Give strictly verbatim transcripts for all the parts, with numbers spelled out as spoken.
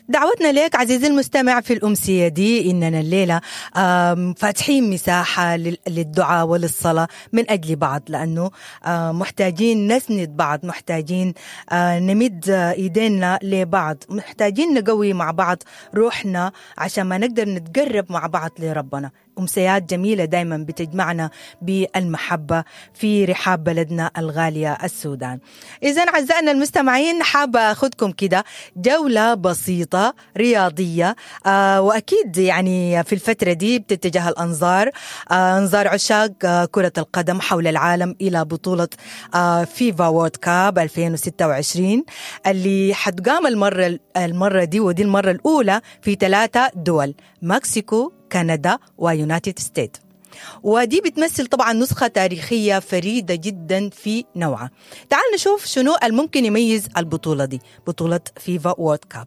دعوتنا لك عزيزي المستمع في الأمسية دي إننا الليلة فاتحين مساحة للدعاء وللصلاة من أجل بعض، لأنه محتاجين نسند بعض، محتاجين نمد إيدينا لبعض، محتاجين نقوي مع بعض روحنا عشان ما نقدر نتقرب مع بعض لربنا. أمسيات جميلة دايما بتجمعنا بالمحبة في رحاب بلدنا الغالية السودان. إذن أعزائنا المستمعين، حابة أخذكم كده جولة بسيطة رياضية، آه وأكيد يعني في الفترة دي بتتجه الأنظار، آه أنظار عشاق آه كرة القدم حول العالم إلى بطولة آه FIFA World Cup ألفين وستة وعشرين اللي حتقام المرة, المرة دي، ودي المرة الأولى في ثلاثة دول: مكسيكو، كندا، و United States. ودي بتمثل طبعا نسخة تاريخية فريدة جدا في نوعها. تعال نشوف شنو الممكن يميز البطولة دي، بطولة FIFA World Cup.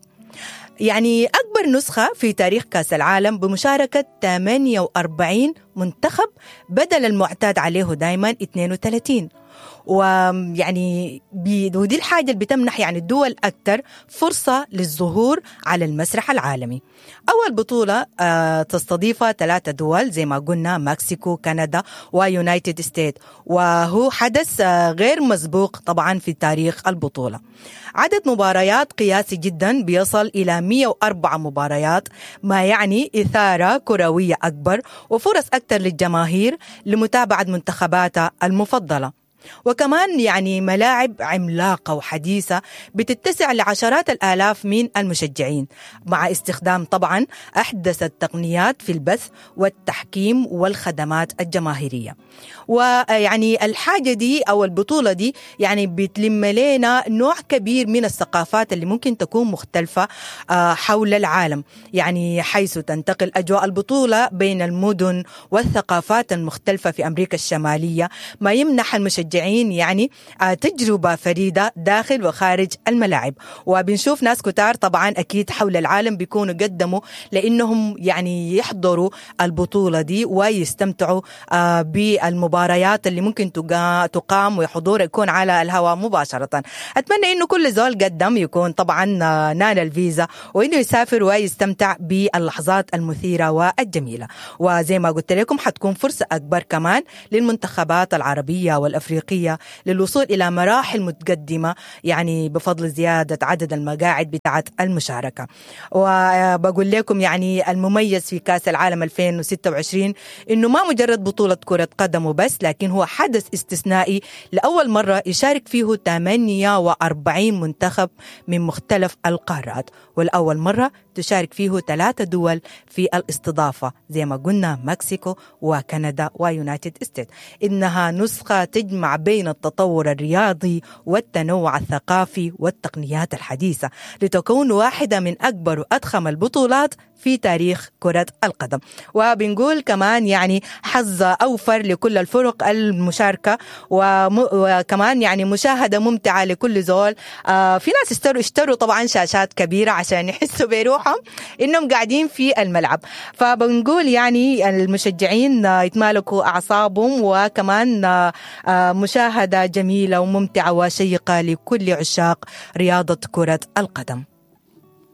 يعني أكبر نسخة في تاريخ كأس العالم بمشاركة ثمانية وأربعين منتخب بدل المعتاد عليه دايما اثنين وثلاثين. ويعني ودي الحاجة اللي بتمنح يعني الدول أكثر فرصة للظهور على المسرح العالمي. أول بطولة آه تستضيفها ثلاثة دول زي ما قلنا: مكسيكو، كندا، و United States، وهو حدث آه غير مسبوق طبعا في تاريخ البطولة. عدد مباريات قياسي جدا بيصل إلى مئة وأربعة مباريات، ما يعني إثارة كروية أكبر وفرص أكثر للجماهير لمتابعة منتخباتها المفضلة. وكمان يعني ملاعب عملاقة وحديثة بتتسع لعشرات الآلاف من المشجعين، مع استخدام طبعا أحدث التقنيات في البث والتحكيم والخدمات الجماهيرية. ويعني الحاجة دي أو البطولة دي يعني بتلم لنا نوع كبير من الثقافات اللي ممكن تكون مختلفة حول العالم، يعني حيث تنتقل أجواء البطولة بين المدن والثقافات المختلفة في أمريكا الشمالية، ما يمنح المشجعين يعني تجربة فريدة داخل وخارج الملاعب. وبنشوف ناس كتار طبعا أكيد حول العالم بيكونوا قدموا لأنهم يعني يحضروا البطولة دي ويستمتعوا بالمباريات اللي ممكن تقام وحضور يكون على الهواء مباشرة. أتمنى إنه كل زول قدم يكون طبعا نال الفيزا وإنه يسافر ويستمتع باللحظات المثيرة والجميلة. وزي ما قلت لكم حتكون فرصة أكبر كمان للمنتخبات العربية والأفريقية للوصول إلى مراحل متقدمة، يعني بفضل زيادة عدد المقاعد بتاعت المشاركة. وبقول لكم يعني المميز في كأس العالم ألفين وستة وعشرين إنه ما مجرد بطولة كرة قدم وبس، لكن هو حدث استثنائي لأول مرة يشارك فيه ثمانية وأربعين منتخب من مختلف القارات، والأول مرة تشارك فيه ثلاثة دول في الاستضافة زي ما قلنا: مكسيكو وكندا و United States. إنها نسخة تجمع بين التطور الرياضي والتنوع الثقافي والتقنيات الحديثة لتكون واحدة من أكبر وأضخم البطولات في تاريخ كرة القدم. وبنقول كمان يعني حظ أوفر لكل الفرق المشاركة، وكمان يعني مشاهدة ممتعة لكل زول. آه في ناس اشتروا اشتروا طبعا شاشات كبيرة عشان يحسوا بروحهم إنهم قاعدين في الملعب. فبنقول يعني المشجعين يتمالكوا أعصابهم، وكمان آه مشاهدة جميلة وممتعة وشيقة لكل عشاق رياضة كرة القدم.